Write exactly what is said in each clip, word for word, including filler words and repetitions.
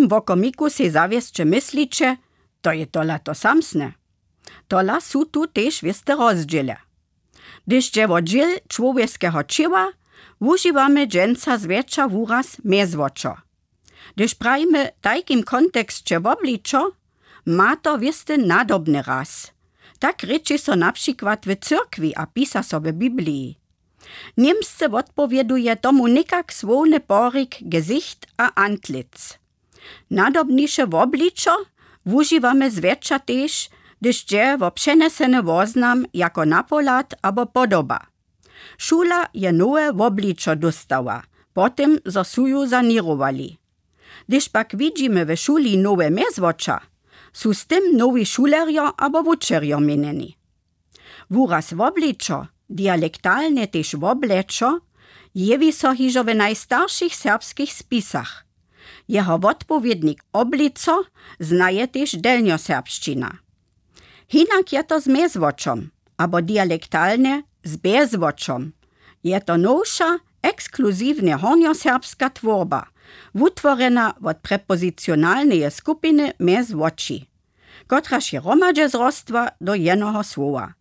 Wokomiku sej zawěsće mysliće, to je tola to samsne. Tola su tu tež wěste rozdźěle. Hdyž dźe wo dźěl čłowjeskeho ćěła, wužiwamy dźensa zwjetša wuraz mjezwočo. Hdyž prajimy w tajkim konteksće wobličo, ma to wěsty nadobny raz. Tak rěči so na přikład w cyrkwi a pisa so w Bibliji. Němsce wotpowěduje tomu někak słowny porik gezicht a antlitz. Nadobniše wobličo wužiwamy zwjetša tež, hdyž dźe wo přenjeseny woznam jako napohlad abo podoba. Šula je nowe wobličo dóstała, po tym zo su ju saněrowali. Hdyž pak widźimy w šuli nowe mjezwoča, su z tym nowi šulerjo abo wučerjo měnjeni. Wuraz wobličo, dialektalnje tež woblečo, jewi so hižo w najstaršich serbskich spisach. Jeho wotpowědnik oblico znaje tež delnjoserbšćina. Hinak je to z mjezwočom, abo dialektalnje z bjezwočom. Je to nowša, ekskluziwnje hornjoserbska twórba, wutworjena wot prepozicionalneje skupiny mjezwoči, kotraž je hromadźe zrostła do jenoho słowa.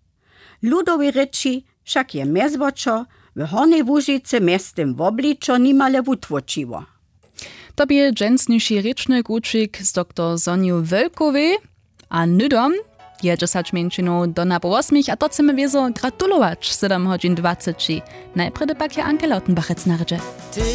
W ludowej rěči wšak je mjezwočo w Hornjej Łužicy mjeztym wobličo nimale wutłóčiło. To bě dźensniši rěčny kućik z doktor Sonju Wölkowej. A hnydom je dźesać mjeńšinow do napoł wosmich a to chcemy wězo gratulować, sedam hodźin dwaceći. Najprjedy pak je Anke Lautenbachec na rědźe.